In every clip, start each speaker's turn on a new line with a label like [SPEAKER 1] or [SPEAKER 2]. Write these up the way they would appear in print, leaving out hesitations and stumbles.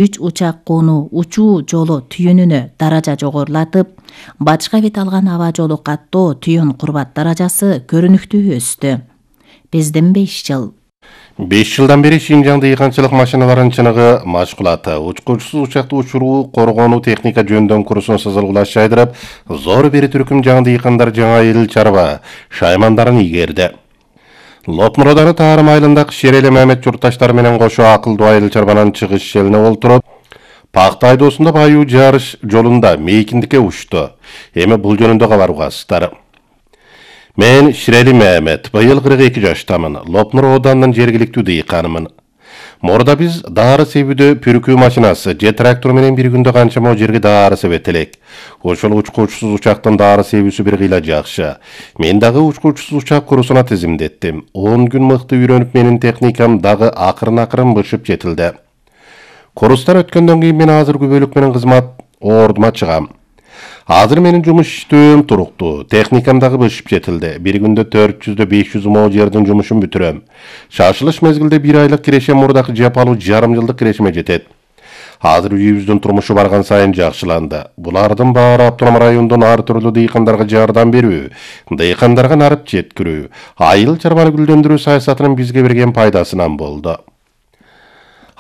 [SPEAKER 1] 3 учак кууну учуу жолу түйүнүнө даража жогорулатып, батышка бет алган аба жолу каттоо түйүн курбат даражасы көрүнүктүү өстү. Биздин 5 жыл.
[SPEAKER 2] 5 жылдан бери Шинжаң дыйканчылык машиналарын чыныгы машкулаты, учкучусуз учакты учуруу, коргонуу техника жөндөн курсун сызылгылаш жайдырып, зор бери түркүм жаңы дыйкандар жаңа эл чарба шаймандарын ийгерди. Лопнур ауданы Таарым айылындагы Шерели Мамет журтташтары менен кошо акылдуу айыл чарбанын чыгыш шелине олтуруп, пакта айдоосунда баюу жарыш жолунда мейкиндикке учту. Эми бул жөнүндө кабарбасыздар. Мен Шерели Мамет, быйыл 42 жаштамын. Лопнур ауданынын жергиликтүү дыйканымын. Мурда биз дары себүүдө пүркүү машинасы же трактор менен бир күндө канча мо жерге дары себет элек. Ошол учкучусуз учактын дары себүүсү бир кыйла жакшы. Мен дагы учкучусуз учак курусуна тизимдеттим. 10 күн мыкты үйрөнүп, менин техникам дагы акырын бышып жетилди. Курустан өткөндөн кийин мен азыр күбөлүк менен кызмат ордума чыгам. Азыр менин жумуш иштөөм туруктуу, техникам дагы бышып жетилди. Бир күндө 400-500 мо жердин жумушун бүтүрөм. Шашылыш мезгилде 1 айлык кирешем мурдакы жапалуу жарым жылдык кирешеме жетет. Азыр үйүбүздүн турмушу барган сайын жакшыланды. Булардын баары автоном райондон ар түрлүү дыйкандарга жардам берүү, дыйкандарга нарып жеткирүү, айыл чарбаны гүлдөндүрүү саясатынын бизге берген пайдасынан болду.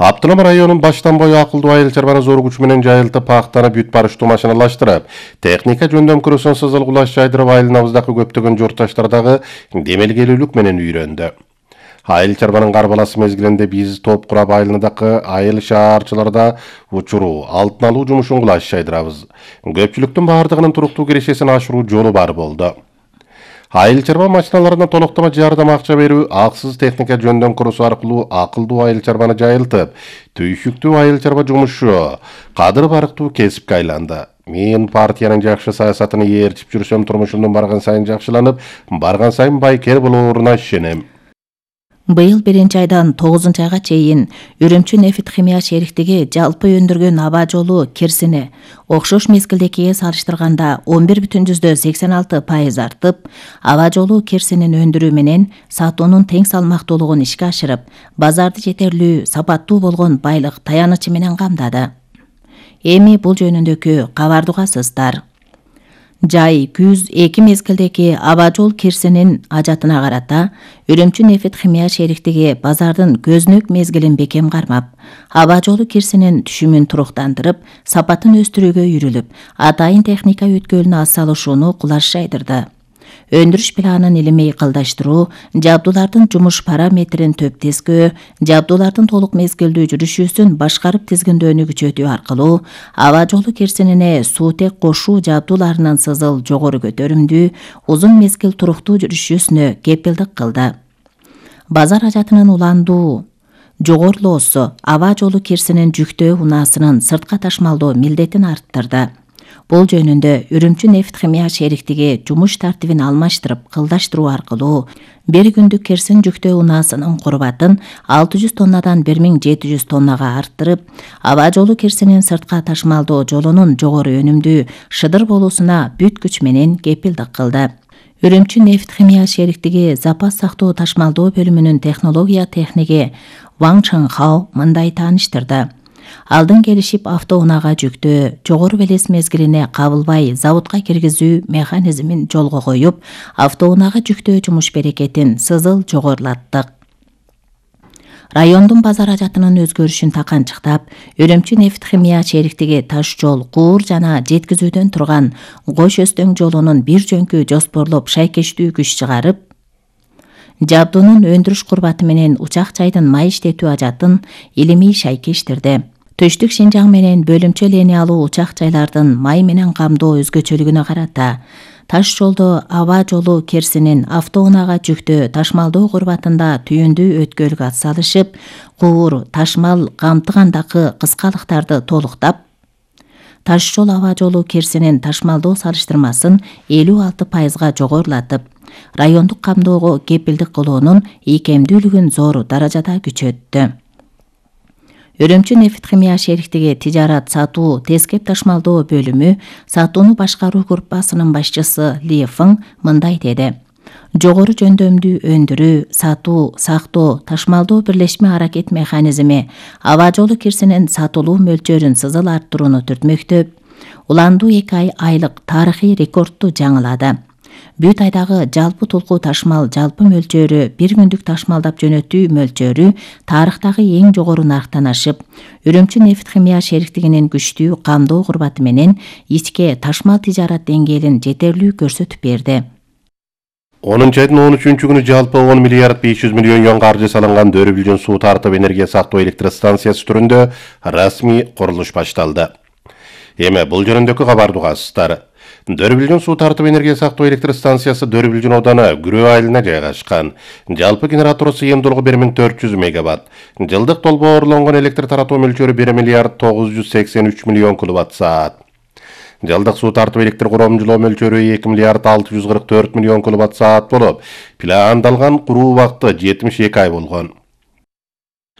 [SPEAKER 2] Автоном районун баштан бою акылдуу айыл чарбаны зор күч менен жайылтып, пактаны бүт барыштуу машиналаштырып, техника жөндөн курусун сызылгылаш жайдырып, айылыбыздагы көптөгөн журтташтар дагы демелгелүүлүк менен үйрөндү. Айыл чарбанын карбаласы мезгилинде биз топ курап айылындагы айыл шаарчыларда учуруу, алтын алуу жумушун кылаш жайдырабыз. Көпчүлүктүн баардыгынын туруктуу кирешесин ашыруу жолу бар болду. Айыл чарба машиналарына толуктама жардам акча берүү, аксыз техника жөндөн курусу аркылуу акылдуу айыл чарбаны жайылтып, түйшүктүү айыл чарба жумушу кадыр барктуу кесипке айланды. Мен партиянын жакшы саясатын ээрчип жүрсөм, турмушумдун барган сайын жакшыланып, барган сайын байкер болооруна ишенем.
[SPEAKER 1] Быйыл 1-айдан 9-айга чейин Үрүмчү нефт химия шериктиги жалпы өндүргөн аба жолу кирсини окшош мезгилдекиге салыштырганда 11,86% артып, аба жолу кирсинин өндүрүү менен сатуунун тең салмактуулугун ишке ашырып, базарды жетерлүү, сапаттуу болгон байлык таянычы менен камдады. Эми бул жөнүндөгү кабарды угасыздар. Жай күз 2 мезгилдеки аба жол кирсинин ажатына карата Үрүмчү нефт химия шериктиги базардын көзүнөк мезгилин бекем кармап, аба жолу кирсинин түшүмүн туруктандырып, сапатын өстүрүүгө үйрүлүп, атайын техника өткөлүнө атсалышууну кулаш жайдырды. Өндүрүш планын илимей кылдаштыруу, жабдуулардын жумуш параметрин төптескөө, жабдуулардын толук мезгилдүү жүрүшүүсүн башкарып тизгиндөөнү күчөтүү аркылуу аба жолу кирсинине суутек кошуу жабдууларынын сызыл жогору көтөрүмдүү, узун мезгил туруктуу жүрүшүүсүнө кепилдик кылды. Базар ажатынын уландуу жогорулоосу аба жолу кирсинин жүктөө унаасынын сыртка ташмалдоо милдетин арттырды. Бул жөнүндө Үрүмчү нефт химия шериктиги жумуш тартибин алмаштырып, кылдаштыруу аркылуу бир күндүк кирсин жүктөө унаасынын курбатын 600 тоннадан 1700 тоннага арттырып, аба жолу кирсинин сыртка ташмалдоо жолунун жогору өнүмдүү шыдыр болуусуна бүт күч менен кепилдик кылды. Үрүмчү нефт химия шериктиги запас сактоо ташмалдоо бөлүмүнүн технология техниги Ван Чанхао мындай тааныштырды. Алдын келишип автоунаага жүктөө жогору белес мезгилине кабылбай заводко киргизүү механизмин жолго коюп, автоунаага жүктөө жумуш берекетин сызыл жогорулаттык. Райондун базар ажатынын өзгөрүшүн таканчыктап, Үрүмчү нефт химия шериктиги таш жол, куур жана жеткизүүдөн турган Кош Өстөң жолунун бир жөнкү жоспорлоп шайкештүү күч чыгарып, жабдуунун өндүрүш курбаты менен учак жайдын май иштетүү ажатын илимий шайкештирди. Түштүк Шинжаң менен бөлүмчө линиялуу учак жайлардын май менен камдоо өзгөчөлүгүнө карата таш жолдо аба жолу кирсинин автоунаага жүктөө ташмалдоо курбатында түйүндүү өткөлгө атсалышып, куур ташмал камтыгандагы кыскалыктарды толуктап, таш жол аба жолу кирсинин ташмалдоо салыштырмасын 56% жогорулатып, райондук камдоого кепилдик кылуунун ийкемдүүлүгүн зор даражада күчөттү. Үрүмчү нефт химия шериктиги тижарат сатуу тескеп ташмалдоо бөлүмү сатууну башкаруу группасынын башчысы Ли Фың мындай деди. жогору жөндөмдүү өндүрүү, сатуу, сактоо, ташмалдоо бирлешме аракет механизми аба жолу кирсинин сатылуу мөлчөрүн сызыл арттырууну түртмөктө. Уландуу 2 айлык тарыхый рекордду жаңылады. Бүт айдагы жалпы тулкуу ташмал жалпы мөлчөрү 1 күндүк ташмалдап жөнөтүү мөлчөрү тарыхтагы эң жогору нарктан ашып, Үрүмчү нефть-химия шериктигинин күчтүү камдоо курбаты менен ичке ташмал тижарат деңгээлин жетерлүү көрсөтүп берди.
[SPEAKER 2] 10-айдын 13-күнү жалпы 10 миллиард 500 миллион юан каржы салынган Дөрүбүлжүн суу тартып энергия сактоо электростанциясы түрүндө расмий курулуш башталды. Эми бул жөнүндөгү кабарды угасыздар. Дөрүбүлжүн суу тартып энергия сактоо электростанциясы Дөрүбүлжүн ооданы Күрөө айылына жайгашкан. Жалпы генератору сыйымдуулугу 1400 мегаватт. Жылдык толбоорлонгон электр таратуу мөлчөрү 1 миллиард 983 миллион киловатт саат. Жылдык суу тартып электр коромжулоо мөлчөрү 2 миллиард 644 миллион киловатт саат болуп, пландалган куруу убакыты 72 ай болгон.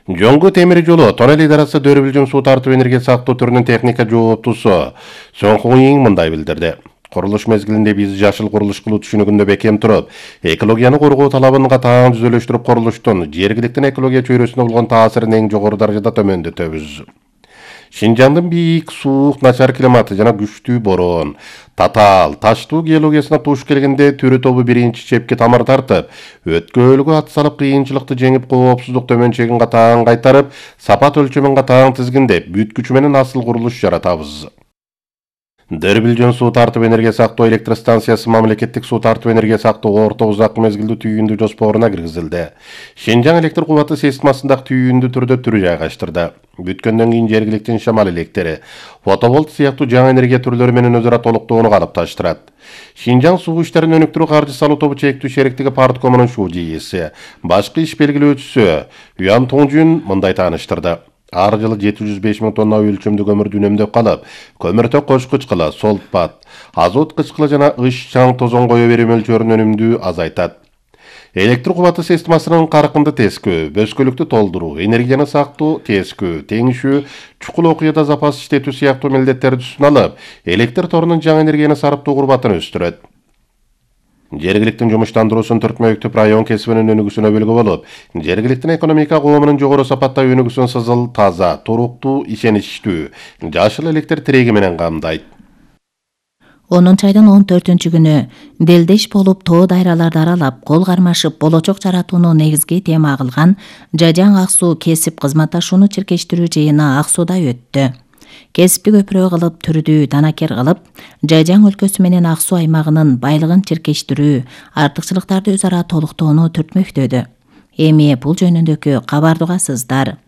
[SPEAKER 2] Жоңгу темир жолу тоннель идарасы Дөрүбүлжүн суу тартып энергия сактоо түрүнүн техника жооптусу Соңкуйин мындай билдирди. Курулуш мезгилинде биз жашыл курулуш кылуу түшүнүгүндө бекем туруп, экологияны коргоо талабын катаң түзөлүштүрүп курулуштун жергиликтин экология чөйрөсүнө болгон таасирин эң жогору даражада төмөндөтөбүз. Шинжаңдын бийик, суук, начар климаты жана күчтүү бороон, татаал, таштуу геологиясына туш келгенде төрө тобу биринчи чепке тамыр тартып, өткөөлгө ат салып кыйынчылыкты жеңип коопсуздук төмөнчөгүн катаң кайтарып, сапат өлчөмүн катаң тизгиндеп, бүт күчү менен асыл курулуш жаратабыз. Дөрүбүлжүн суу тартып энергия сактоо электростанциясы мамлекеттик суу тартып энергия сактоо орто узак мезгилдүү түйүндү жоспоруна киргизилди. Шинжаң электр кубаты системасындагы түйүндү түрдө түрү жайгаштырды. Бүткөндөн кийин жергиликтин шамал электри, фотоволт сыяктуу жаңы энергия түрлөрү менен өзара толуктоону калыпташтырат. Шинжаң суу иштерин өнүктүрүү каржы салуу тобу чектүү шериктиги парткомунун ШУ-ЖИИси, башкы иш белгилөөчүсү Юан Туңжун мындай тааныштырды. Ар жылы 705 000 тонна өлчөмдүү көмүрдү үнөмдөп калып, көмүртөк кош кычкылы, солтпат, азот кычкылы жана ыш чаң тозон кое берүү мөлчөрүн өнүмдүү азайтат. Электр кубаты системасынын каркынды тескөө, бөскөлүктү толдуруу, энергияны сактоо, тескөө, теңишүү, чукул окуяда запас иштетүү сыяктуу милдеттерди үстүнө алып, электр торунун жаңы энергияны сарыптоо курбатын өстүрөт. Жергиликтин жумуштандыруусун түртмөктүп район кесибинин өнүгүүсүнө бөлгү болуп, жергиликтин экономика коомунун жогору сапатта өнүгүүсүн сызыл, таза, туруктуу, ишеничтүү, жашыл электр тиреги менен камдайт.
[SPEAKER 1] 10-айдын 14-күнү делдеш болуп тоо дайраларды аралап, кол кармашып, болочок жаратууну негизги тема кылган Жажаң Ак суу кесип кызматташууну чиркештирүү жыйыны Ак сууда өттү. Кесипти көпүрө кылып, түрдүү данакер кылып, Жажаң өлкөсү менен Ак суу аймагынын байлыгын чиркештирүү, артыкчылыктарды өз ара толуктоону түртмөктөдү. Эми бул жөнүндөгү кабарды угасыздар.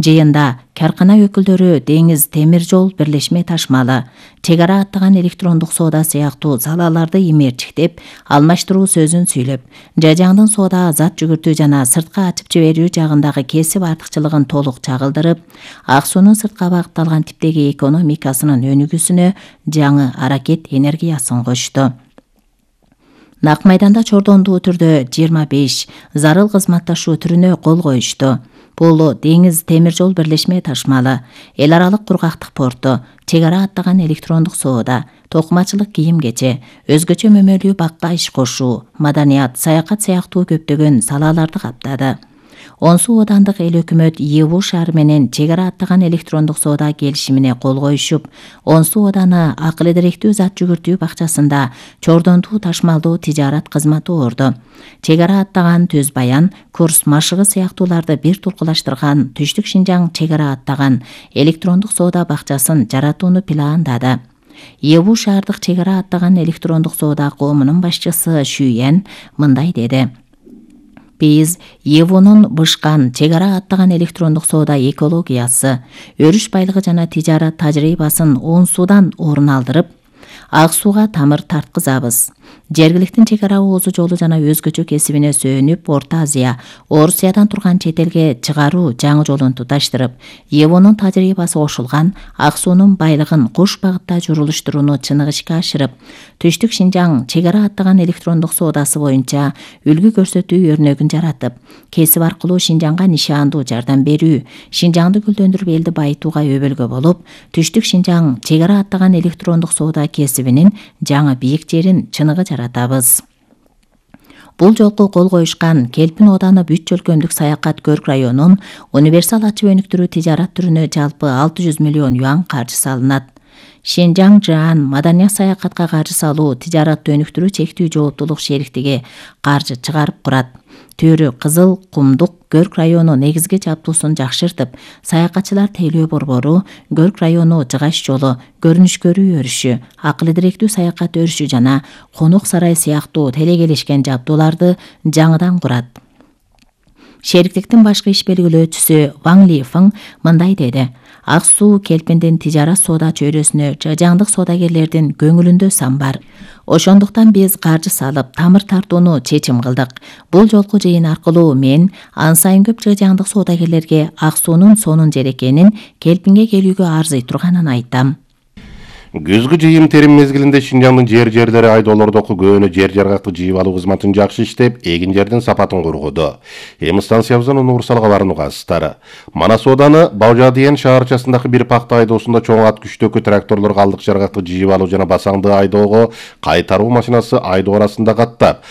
[SPEAKER 1] Жыйында каркана өкүлдөрү деңиз темир жол бирлешме ташмалы, чек ара аттаган электрондук соода сыяктуу салаларды имээрчиктеп, алмаштыруу сөзүн сүйлөп, Жажаңдын соода зат жүгүртүү жана сыртка ачып жиберүү жагындагы кесип артыкчылыгын толук чагылдырып, Ак суунун сыртка багытталган типтеги экономикасынын өнүгүүсүнө жаңы аракет энергиясын кошту. Нак майданда чордондуу түрдө 25 зарыл кызматташуу түрүнө кол коюшту. Бул деңиз темир жол бирлешме ташмалы, эл аралык кургактык порту, чек ара аттаган электрондук соода, токумачылык кийим-кече, өзгөчө мөмөлүү бакка иш кошуу, маданият, саякат сыяктуу көптөгөн салаларды каптады. Онсу оодандык эл өкмөт ЕУ шаары менен чек ара аттаган электрондук соода келишимине кол коюшуп, Онсу ооданы акыл эдеректүү зат жүгүртүү бакчасында чордондуу ташмалдуу тижарат кызматы орду. Чек ара аттаган Төз Баян, Курс машыгы сыяктууларды бир тулкулаштырган Түштүк Шинжаң чек ара аттаган электрондук соода бакчасын жаратууну пландады. ЕУ шаардык чек ара аттаган электрондук соода коомунун башчысы Шүйен мындай деди. Биз ЕУнун бышкан чек ара аттаган электрондук соода экологиясы, өрүш байлыгы жана тижарат тажрыйбасын Онсудан орун алдырып, Ак сууга тамыр тарткызабыз. Жергиликтин чек ара оозу жолу жана өзгөчө кесибине сөөнүп, Орто Азия, Орусиядан турган чет элге чыгаруу жаңы жолун туташтырып, ЕУнун тажрыйбасы кошулган Ак суунун байлыгын кош багытта журулуштурууну чыныгы ишке ашырып, Түштүк Шинжаң чек ара аттаган электрондук соодасы боюнча үлгү көрсөтүү өрнөгүн жаратып, кесип аркылуу Шинжаңга нишандуу жардам берүү, Шинжаңды гүлдөндүрүп элди байытууга өбөлгө болуп, Түштүк Шинжаң чек ара аттаган электрондук соода кесибинин жаңы бийик жерин чыныгы жаратабыз. Бул жолку кол коюшкан Келпин ооданы бүт өлкөмдүк саякат көрк районун универсал ачып өнүктүрүү тижарат түрүнө жалпы 600 миллион юан каржы салынат. Шинжаң Жаан маданият саякатка каржы салуу тижаратты өнүктүрүү чектүү жооптулук шериктиги каржы чыгарып курат. Төрү Кызыл Кумдук Көрк району негизги жабдуусун жакшыртып, саякатчылар тейлөө борбору, Көрк району жыгаш жолу, көрүнүш көрүү өрүшү, акыл идиректүү саякат өрүшү жана конок сарай сыяктуу телегелешкен жабдууларды жаңыдан курат. Шериктиктин башкы иш белгилөөчүсү Ваң Лифың мындай деди: Ак Суу Келпиндин тижарат соода чөйрөсүнө жажаңдык соодагерлердин көңүлүндө сан бар. Ошондуктан биз каржы салып, тамыр тартууну чечим кылдык. Бул жолку жыйын аркылуу мен ан сайын көп жажаңдык соодагерлерге Ак Суунун сонун жер экенин, Келпинге келүүгө арзый турганын айттым.
[SPEAKER 2] Күзгү жыйым терим мезгилинде Шинжаңдын жерлери айдоолордоку көөнү жер жаргакты жыйып алуу кызматын жакшы иштеп, эгин жердин сапатын коргоду. Эми станциябыздын универсалга барын угасыздар. Манас ооданы Баужадыен шаарчасындагы бир пахта айдоосунда чоң ат күчтөкү тракторлор калдык жаргакты жыйып алуу жана басаңды айдоого кайтаруу машинасы айдоо арасында каттап,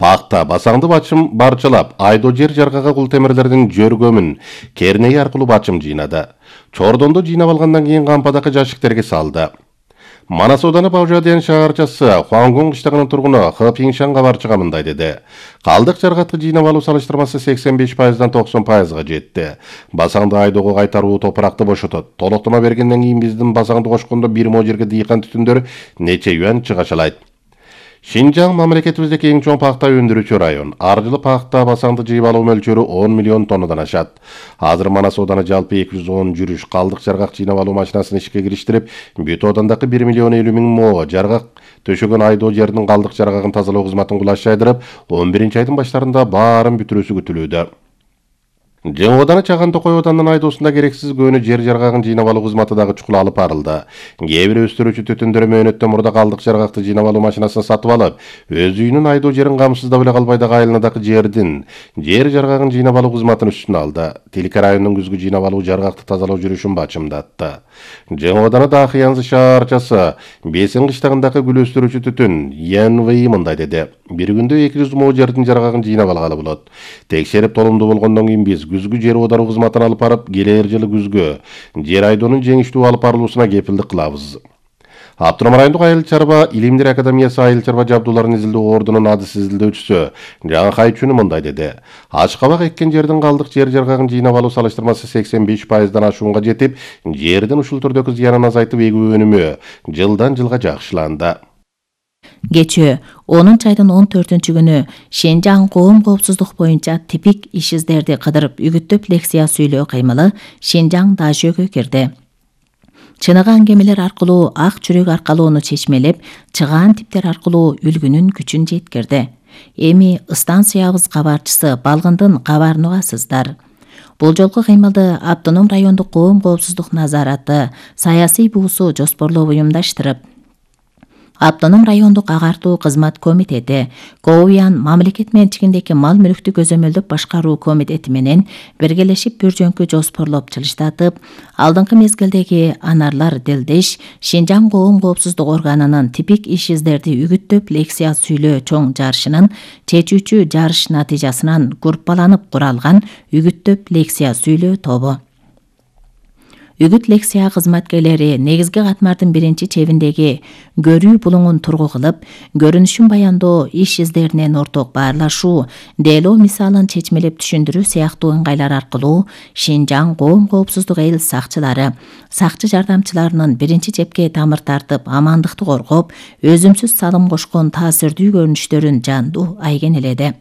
[SPEAKER 2] пахта басаңды барчылап, айдоо жер жаргага кул темирлердин жөргөмүн кернеи аркылуу бачым жыйнады. Чордонду жыйнап алгандан кийин кампадагы жашиктерге салды. Манас ооданы Баужадыен шаарчасы Хуангун кыштагынын тургуну Хэ Пиңшан кабарчыга мындай деди: Калдык жаргакты жыйнап алуу салыштырмасы 85%-дан 90%га жетти. Басаңды айдоого кайтаруу топуракты бошотот. Толоктомо бергенден кийин биздин басаңды кошкондо бир мо жерге дыйкан түтүндөр нече юан чыгашалайт. Шинжаң мамлекетибиздеги эң чоң пахта өндүрүүчү район. Ар жылы пахта басаңды жыйып алуу мөлчөрү 10 миллион тоннадан ашат. Азыр Манас ооданы жалпы 210 жүрүш калдык жаргак жыйнап алуу машинасын ишке кириштирип, бүт оодандагы 1 миллион 50 миң мо жаргак төшөгөн айдоо жердин калдык жаргагын тазалоо кызматын кулаш жайдырып, 11-айдын баштарында баарын бүтүрүүсү күтүлүүдө. Жаңы ооданы Чаган Токой оодандын айдоосунда керексиз көөнү жер жаргагын жыйнап алуу кызматы дагы чукул алып барылды. Кээ бир өстүрүүчү түтүндөр мөөнөттөн мурда калдык жаргакты жыйнап алуу машинасын сатып алып, өз үйүнүн айдоо жерин камсыздап эле калбай дагы айылынадагы жер жаргагын жыйнап алуу кызматын үстүнө алды. Тилке районунун күзгү жыйнап алуу жаргакты тазалоо жүрүшүн бачымдатты. Жаңы ооданы Дахыянзы шаарчасы Бесин кыштагындагы гүл өстүрүүчү түтүн ЯНВИ мындай деди: Бир күндө 200 мо жердин жаргагын жыйнап алгалы болот. Текшерип толумдуу болгондон кийин биз күзгү жер оодаруу кызматын алып барып, келер жылы күзгү жер айдоонун жеңиштүү алып барылуусуна кепилдик кылабыз. Автоном райондук айыл чарба илимдер академиясы айыл чарба жабдууларын изилдөө ордунун адыс изилдөөчүсү Жаңы Хайчүнү мындай деди: Аш кабак эккен жердин калдык жер жаргагын жыйнап алуу салыштырмасы 85%-дан ашуунга жетип, жердин ушул түрдөгү зыянын азайтып эгүү өнүмү жылдан жылга жакшыланды.
[SPEAKER 1] Кечээ 10-айдын 14-күнү Шинжаң коом коопсуздук боюнча типик иш издерди кыдырып үгүттөп лекция сүйлөө кыймылы Шинжаң дажөөгө кирди. Чыныгы аңгемелер аркылуу ак чүрөк аркалоону чечмелеп, чыгаан типтер аркылуу үлгүнүн күчүн жеткирди. Эми станциябыз кабарчысы Балгындын кабарын угасыздар. Бул жолку кыймылды Автоном райондук коом коопсуздук назараты саясий буусу жоспорлоп уюмдаштырып, Автоном райондук агартуу кызмат комитети, Коуян мамлекет менчигиндеги мал мүлктү көзөмөлдөп башкаруу комитети менен биргелешип бир жөнкү жоспорлоп чылыштатып, алдыңкы мезгилдеги анарлар делдеш Шинжаң коом коопсуздук органынын типик иш издерди үгүттөп лекция сүйлөө чоң жарышынын чечүүчү жарыш натыйжасынан группаланып куралган үгүттөп лекция сүйлөө тобу. Үгүт лекция кызматкерлери негизги катмардын биринчи чебиндеги көрүү булуңун тургу кылып, көрүнүшүн баяндоо, иш издеринен орток баарлашуу, делоо мисалын чечмелеп түшүндүрүү сыяктуу ыңгайлар аркылуу Шинжаң коом коопсуздук эл сакчылары, сакчы жардамчыларынын биринчи чепке тамыр тартып, амандыкты коргоп, өзүмсүз салым кошкон таасирдүү көрүнүштөрүн жандуу айгенеледи.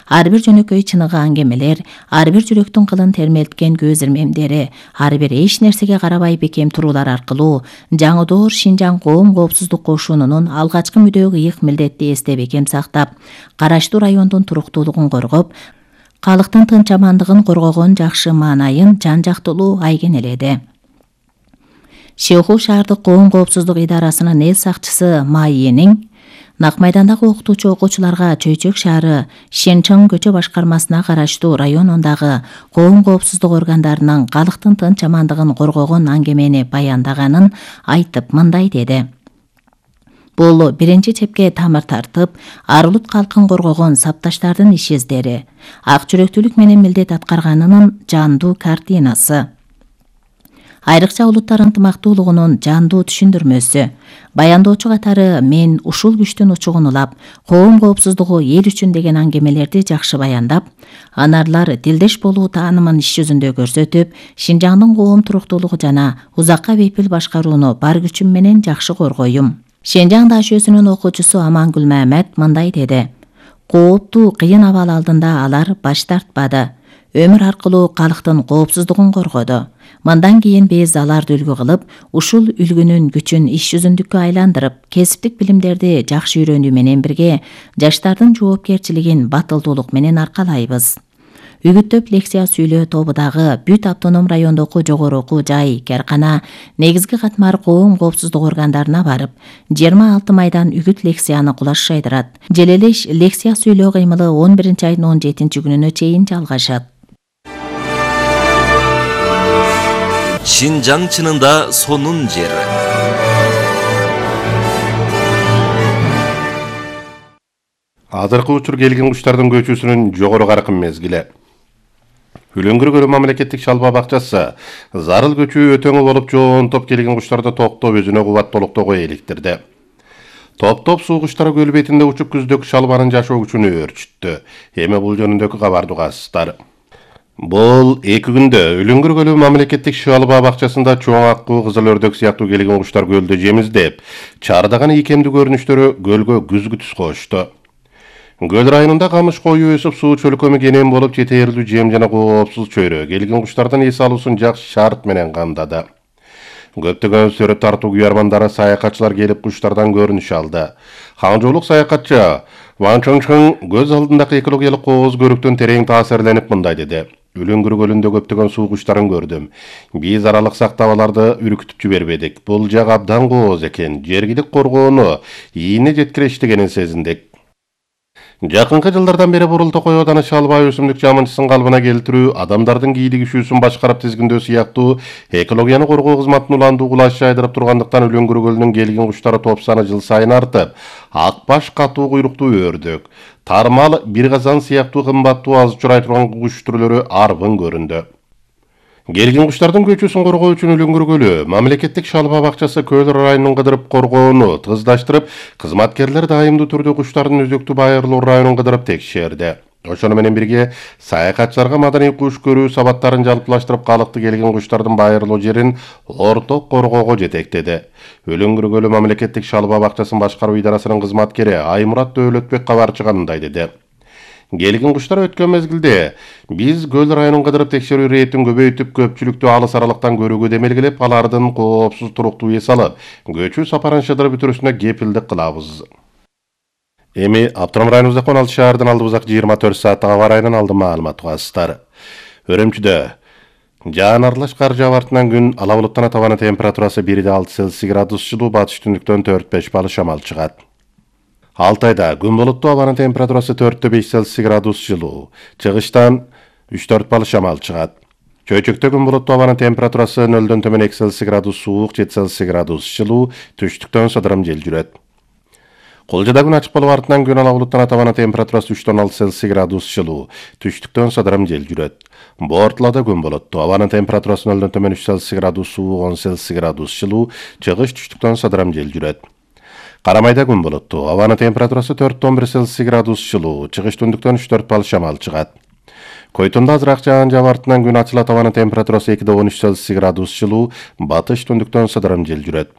[SPEAKER 1] Ар бир жөнөкөй чыныгы аңгемелер, ар бир жүрөктүн кылын термелткен көз ирмемдери, ар бир эч нерсеге карабай бекем туруулар аркылуу жаңыдоор Шинжаң коом коопсуздук кошунунун алгачкы мүдөө ыйык милдетти эсте бекем сактап, караштуу райондун туруктуулугун коргоп, калктын тынч амандыгын коргогон жакшы маанайын жан жактылуу айгенеледи. Шеуху шаардык коом коопсуздук идарасынын эл сакчысы Майенин Нак майдандагы окутуучу окуучуларга Чөйчөк шаары Шенчоң көчө башкармасына караштуу районундагы коом коопсуздук органдарынын калктын тынч амандыгын коргогон аңгемени баяндаганын айтып мындай деди: Бул биринчи чепке тамыр тартып, ар улут калкын коргогон сапташтардын иш издери, ак жүрөктүүлүк менен милдет аткарганынын жандуу картинасы. Айрыкча улуттар ынтымактуулугунун жандуу түшүндүрмөсү. Баяндоочу катары мен ушул күчтүн учугун улап, коом коопсуздугу эл үчүн деген аңгемелерди жакшы баяндап, анарлар тилдеш болуу таанымын иш жүзүндө көрсөтүп, Шинжаңдын коом туруктуулугу жана узакка бейпил башкарууну бар күчүм менен жакшы коргойюм. Шинжаң ДАШ-сынын окуучусу Амангүл Мамед мындай деди: Кооптуу кыйын абал алдында алар баш тартпады. Өмүр аркылуу калктын коопсуздугун коргоду. Мындан кийин биз аларды үлгү кылып, ушул үлгүнүн күчүн иш жүзүндүккө айландырып, кесиптик билимдерди жакшы үйрөнүү менен бирге жаштардын жоопкерчилигин батылдуулук менен аркалайбыз. Үгүттөп лекция сүйлөө тобудагы бүт автоном райондогу жогору окуу жай, кээркана, негизги катмар коом коопсуздук органдарына барып, 26 майдан үгүт лекцияны кулаш жайдырат. Желелеш лекция сүйлөө кыймылы 11 айдын 17 күнүнө чейин жалгашат.
[SPEAKER 3] Шинжаң чынында сонун жер.
[SPEAKER 2] Азыркы учур келген куштардын көчүүсүнүн жогору каркын мезгили. Үлөңгүр көлү мамлекеттик шалба бакчасы зарыл көчүү өтөңү болуп жоонтоп келген куштарды токтоп өзүнө кубаттуулуктогу эликтирди. Топ-топ суу куштары көл бетинде учуп күздөгү шалбанын жашоо күчүнө өрчүттү. Эми бул жөнүндөгү кабарды угасыздар. Бул 2 күндө Үлөңгүр көлү мамлекеттик шалба бакчасында чоң аккуу, кызыл өрдөк сыяктуу келген куштар көлдү жемиздеп, чардаган ийкемдүү көрүнүштөрү көлгө күзгү түс кошту. Көл районунда камыш коюу өсүп, суу чөлкөмү кенен болуп, жетээрлүү жем жана коопсуз чөйрө келген куштардын эс алуусун жакшы шарт менен камдады. Көптөгөн сүрөт тартуу күйөрмандары, саякатчылар келип куштардан көрүнүш алды. Хаңжоолук саякатчы Ван Чоңчоң көз алдындагы экологиялык кооз көрүктөн терең таасирленип мындай деди: Үлөңгүр көлүндө көптөгөн суу куштарын көрдүм. Биз аралык сактап аларды үркүтүп жибербедик. Бул жак абдан кооз экен. Жергилик коргоону ийине жеткирештигенин сезиндик. Жакынкы жылдардан бери Бурултокой ооданы шалба өсүмдүк жамынчысын калыбына келтирүү, адамдардын кийлигишүүсүн башкарып тизгиндөө сыяктуу экологияны коргоо кызматынын уландуу кулаш жайдырып тургандыктан Үлөңгүр көлүнүн келген куштары топ саны жыл сайын артып, акбаш, катуу куйруктуу өрдөк, тармал, бир казан сыяктуу кымбаттуу аз учурай турган куш түрлөрү арбын көрүндү. Келген куштардын көчүүсүн коргоо үчүн Үлөңгүр көлү мамлекеттик шалба бакчасы көл районун кыдырып коргоону тыгыздаштырып, кызматкерлер дайымдуу түрдө куштардын өзөктүү байырлуу районун кыдырып текшерди. Ошону менен бирге саякатчыларга маданий куш көрүү сабаттарын жалпылаштырып, калыкты келген куштардын байырлуу жерин орток коргоого жетектеди. Үлөңгүр көлү мамлекеттик шалба бакчасын башкаруу идарасынын кызматкери Аймурат Дөөлөтбек кабарчыга мындай деди: Келген куштар өткөн мезгилде биз көл районун кыдырып текшерүү рейдин көбөйтүп, көпчүлүктү алыс аралыктан көрүүгө демелгилеп, алардын коопсуз туруктуу эс алып, көчүү сапарын шыдырып бүтүрүүсүнө кепилдик кылабыз. Эми Автоном районубузда 16 шаардын алдыбызак 24 сааттык аба ырайынан алдын маалымат угасыздар. Өрөмчүдө жаан аралаш кар жаап артынан күн ала булуттан табаны температурасы 1,6 Цельсий градус жылуу, батыш түндүктөн 4-5 балл шамал чыгат. Алтайда күн булуттуу, абанын температурасы 4-5 Цельсий градус жылуу, чыгыштан 3-4 балл шамал чыгат. Чөйчөктө күн булуттуу, абанын температурасы 0-дөн төмөн 2 Цельсий градус суук, 7 Цельсий градус жылуу, түштүктөн сыдырым жел жүрөт. Кулжада күн ачык болуп артынан күн ала булуттан табаны температурасы 3-6 Цельсий градус жылуу, түштүктөн сыдырым жел жүрөт. Бортулада күн булуттуу, абанын температурасы 0-дөн төмөн 3 Цельсий градус суук, 10 Цельсий градус жылуу, чыгыш түштүктөн сыдырым жел жүрөт. Карамайда күн булуттуу, абанын температурасы 4-11 Цельсий градус жылуу, чыгыш түндүктөн 3-4 балл шамал чыгат. Койтунда азыраак жаан жаап артынан күн ачылат, абанын температурасы 2-13 Цельсий градус жылуу, батыш түндүктөн сыдырым жел жүрөт.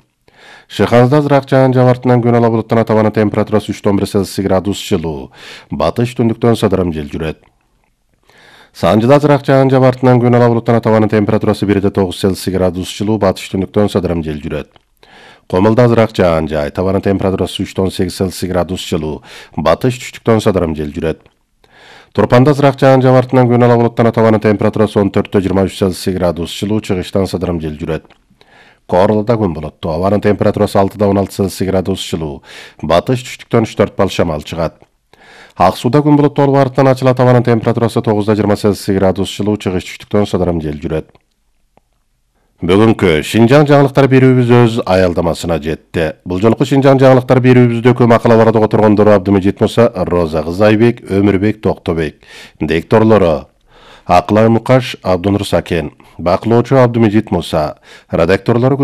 [SPEAKER 2] Шыханызда азыраак жаан жаап артынан күн ала булуттан абанын температурасы 3-11 Цельсий градус жылуу, батыш түндүктөн сыдырым жел жүрөт. Санжыда азыраак жаан жаап артынан күн ала булуттан абанын температурасы 1-9 Цельсий градус жылуу, батыш түндүктөн сыдырым жел жүрөт. Комулда азыраак жаан жаай, табанын температурасы 3-8 Цельсий градус жылуу, батыш түштүктөн сыдырым жел жүрөт. Турпанда азыраак жаан жаап артынан күн ала булуттан табанын температурасы 14-23 Цельсий градус жылуу, чыгыштан сыдырым жел жүрөт. Корлуда күн булуттуу, абанын температурасы 6-16 Цельсий градус жылуу, батыш түштүктөн 3-4 балл шамал чыгат. Ак сууда күн булуттуу болуп артынан ачылат, абанын температурасы 9-20 Цельсий градус жылуу, чыгыш түштүктөн сыдырым жел жүрөт. Бүгүнкү Шинжаң жаңылыктар берүүбүз өз аялдамасына жетти. Бул жолку Шинжаң жаңылыктар берүүбүздө макалаларды которгондор Абдымежит Муса, Роза Кызайбек, Өмүрбек Токтобек. Дикторлору Аклай Мукаш, Абдунур Сакен, бакылоочу Абдымежит Муса, редакторлору